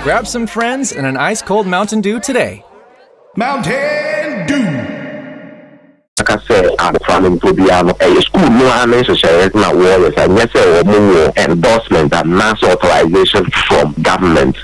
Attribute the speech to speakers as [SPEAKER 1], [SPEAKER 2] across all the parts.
[SPEAKER 1] Grab some friends and an ice cold Mountain Dew today.
[SPEAKER 2] Mountain Dew.
[SPEAKER 3] Aka sɛ abɔfra no mpo biara no, ɛyɛ sukuu no ara ne nhyehyɛeɛ na wɔyɛ saa, nyɛ sɛ wɔn wɔ endorsement anaasɛ authorization from government.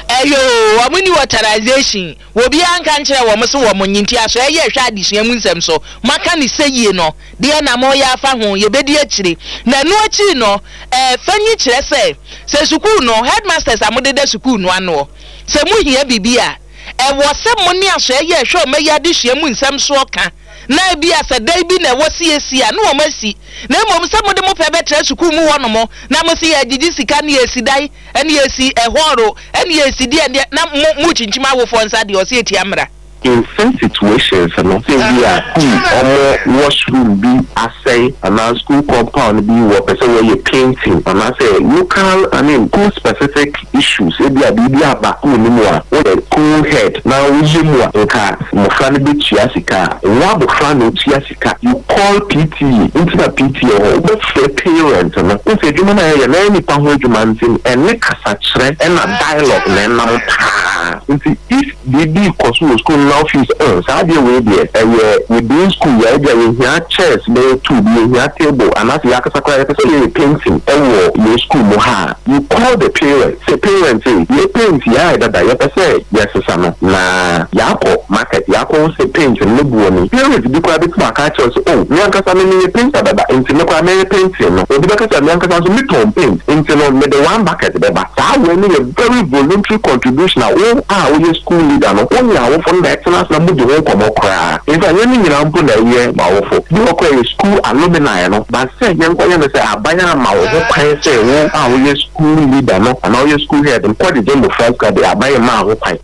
[SPEAKER 4] Ɛyɛ oo, wɔn nni authorization, obiara nka nkyerɛ wɔn se wɔn nye, nti aso ɛyɛ hwɛ adesua mu nsɛm so, moaka no sɛ yie no, deɛ na moreyɛ afa ho, yɛbɛdi akyire. Na ɛno akyiri no, ɛɛ, fanyi kyerɛ sɛ, sɛ sukuu no, headmasters a modeda sukuu no anoɔ, sɛ mohia biribi a, ɛwɔ sɛ mo ne aso ɛyɛ hwɛ ɔma yi adesua mu nsɛm soɔ ka, na ebia sɛ dan bi na ɛwɔ siesie a, na wɔn asi. Na mmom sɛ mode mo pɛ bɛtra sukuu mu hɔnom, na mo se yɛregyegye sika na yɛresi dan, ɛne yɛresi ɛhɔɔro, ɛne yɛresi deɛ deɛ, na mo morekyinkyim awofoɔ nsa deɛ, ɔse ɛtia mmara.
[SPEAKER 3] In some situations no, sɛ bi a school ɔmo washroom bi asɛe anaa school compound bi wɔpɛ sɛ wɔyɛ painting anaasɛ local, I mean, school specific issues, ebi a biribi aba school no mu a, woyɛ school head na woyɛ mu a, nka mmɔfra no bɛtua sika a, wo abɔfra na otua sika. You call PTA, nti na PTA wɔ hɔ, wobɛfrɛ parent no. Wosɛ adwuma no a yɛyɛ na ɛyɛ nipa ho adwuma, nti no ɛne kasakyerɛ ɛna dialogue na ɛnam paa. Nti if biribi kɔ so wɔ school no na wofeel sɛ saa adeɛ wei deɛ ɛyɛ within school yɛ, ebi a yɛhia chairs bɛyɛ two bi, yɛhia table, anaasɛ yɛakasa koraa yɛpɛ sɛ yɛyɛ painting ɛwɔ yɛn school mu ha a, you call the parent sɛ, "Parent, yɛ paint yɛ ayɛ dada, yɛpɛ sɛ yɛsesa no na yɛakɔ market, yɛakɔ sɛ paint no ne boɔ ni." Parent bi koraa bɛtumi aka akyerɛ sɛ, "Oh, me ankasa me meyɛ painter dada, nti me koraa mɛyɛ painting no." Obi bɛka sɛ, "Me ankasa nso metɔn paint, nti no mede one bucket bɛba." Saa wei no yɛ very voluntary contribution a wo a woyɛ school leader no, wo ne awofo no na ɛtena ase na modi ho nkɔmmɔ koraa. In fact, nyɛ ne nyinaa mpo na ɛyɛ ma awofo bi wɔ koraa, yɛ school alumni no ba sɛ yɛnkɔyɛ no sɛ aban ama wo ho kwan sɛ wo a woyɛ school leader no anaa woyɛ school head no kɔgyegye mmɔfra sika de, aban mmaa ho kwan.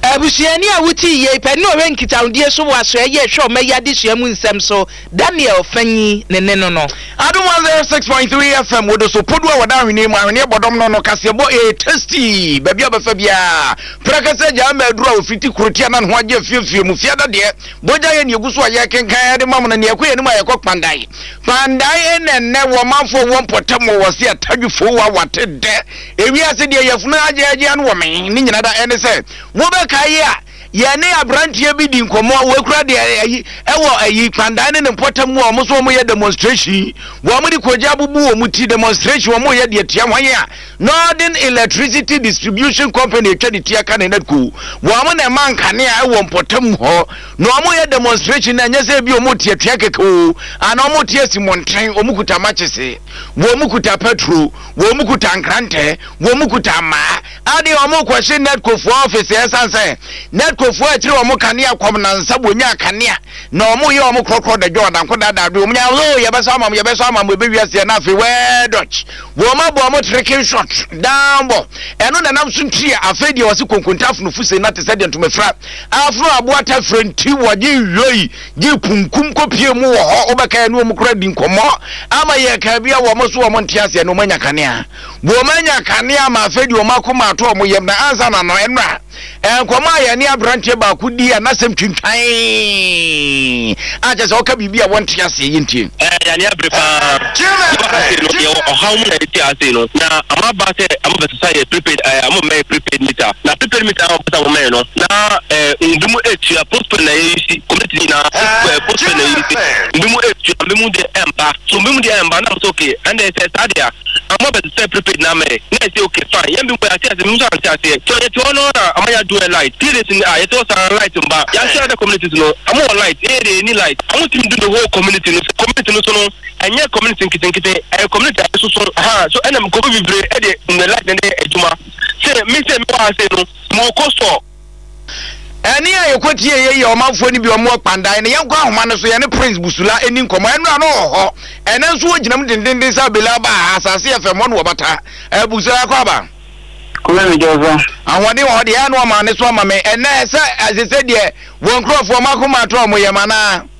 [SPEAKER 4] Abusuani a wotii yei pɛ ne ɔhwɛ nkitahodie so wɔ asoɛeɛ hwɛ ɔma yi adesua mu nsɛm so, Daniel Fanyi ne ne no.
[SPEAKER 2] Adom 106.3 FM wode so podu a wɔda ahweneɛ mu, ahweneɛ bɔdɔm no kaseɛbɔ ɛyɛ tasty baabi a bɛfa biara prɛkɛsɛ gyaa ma aduru a wɔfiti kurotia na ne ho agye afiefie mu fiada deɛ bogya yɛ ne ɛgu so a yɛkenkan de ma mo no neɛ ɛkɔ yɛnim a yɛkɔ Kpandae. Kpandae ɛnɛ nnɛ wɔ manfoɔ wɔ mpɔtam wɔ wɔ se atadwefoɔ wɔ awate dɛ ewiase deɛ yɛfunu agyeagyea no wɔ me ne nyina da. Ɛne sɛ wobɛkae a, yɛne aberanteɛ bi di nkɔmmɔ a wɔkura deɛ ayi ɛwɔ ayi Kpandan ne ne mpɔtam mu a wɔn nso wɔyɛ demonstration, wɔn de kogya abubu wɔn ti, demonstration wɔn yɛ deɛ tia wɔn a Northern Electricity Distribution Company atwa ne ti aka ne NEDCO, wɔn na ɛma nkanea ɛwɔ mpɔtam hɔ na wɔn yɛ demonstration. Na ɛnyɛ sɛ ebi wɔn te atua kɛkɛ o, ana wɔn te asi mmɔnten, wɔn kuta makyese, wɔn kuta petrol, wɔn kuta nkrantɛ, wɔn kuta mmaa ade, wɔn kɔhye NEDCO foɔ office. Ɛsan sɛ NEDCO foɔ akyire wɔn kanea kɔm nansa wɔnya kanea na wɔn yɛ wɔn korɔkorɔ dadwa ɔdanko daadaa do wɔn nya o, yɛbɛsɔ ama mo, yɛbɛsɔ ama mo, ebi wiase. Na afei wɛɛ dɔch wɔn abɔ wɔn tricky shot down bɔ ɛno na nam so ntiri a afei deɛ wɔsi konkonta afono fuse na te sɛ deɛ ntoma fira afono aboa tafere nti wɔgye yoi gye kunkum kɔpie mu wɔ hɔ. Wobɛka ɛne wɔn kora di nkɔmmɔ ama yɛ ka bi a wɔn so wɔn nte aseɛ na wɔn anya kanea, wɔn anya kanea ama afei deɛ wɔn akoma ato wɔn yam. Na ansa na no ɛnora nkɔmmɔ a yɛne aberanteɛ baako di a n'asɛm twintwan a kyerɛ sɛ ɔka biribi a wɔnte aseɛ, yɛntie.
[SPEAKER 5] Yɛne abere paa. Yɛwɔ ha sei no, yɛwɔ ɔhaw mu na yɛte ha sei no, na ama ba sɛ ama bɛsesa yɛ prepaid, ama mɛyɛ prepaid meter, na prepaid meter a wɔpɛ sɛ wɔmɛyɛ no na mbi mu etua postpaid na yɛyi si community nyinaa postpaid na yɛyi si, mbi mu etua, mbi mu deɛ ɛmba so, mbi mu deɛ ɛmba. Na mo sɛ okay, ɛnna sɛ saa deɛ ama bɛsesa prepaid na amɛyɛ na yɛsɛ okay, fine. Yɛn bi mu yɛate ase, mi nso ante aseɛ so yɛte hɔ no na ama yɛadu ɛ light 3 days a yɛte hɔ saa, light mba. Yɛahyɛ other communities no ama wɔ light, yɛyɛ deɛ yɛni light. Ɔmo tumi do the whole community no, community no so no ɛnyɛ community nketenkete, ɛyɛ community a ɛsoso ha so, ɛna nkɔfo bebree ɛde ne light ne adwuma sɛ mi sɛ mi wɔ ha sɛ no mo kɔ store.
[SPEAKER 2] Ɛne a yɛkɔtie yɛ yɛ ɔmanfoɔ no bi ɔmo Kpandan no. Yɛnkɔ ahoma no so, yɛne Prince Busula ɛni nkɔmmɔ. Ɛnora no wɔ hɔ, ɛnɛ nso wɔgyina mu dendenden sɛ abela ba a asase yɛ fam hɔ no wɔbata. Busula, akɔ aba.
[SPEAKER 6] Kome mi jɔ so.
[SPEAKER 2] Ahoɔden wɔ hɔ deɛ, ɛno ɔma ne so ama me ɛnɛ sɛ ɛsɛ sɛ deɛ wɔn nkurɔfoɔ ɔmo akoma ato ɔmo yɛm anaa.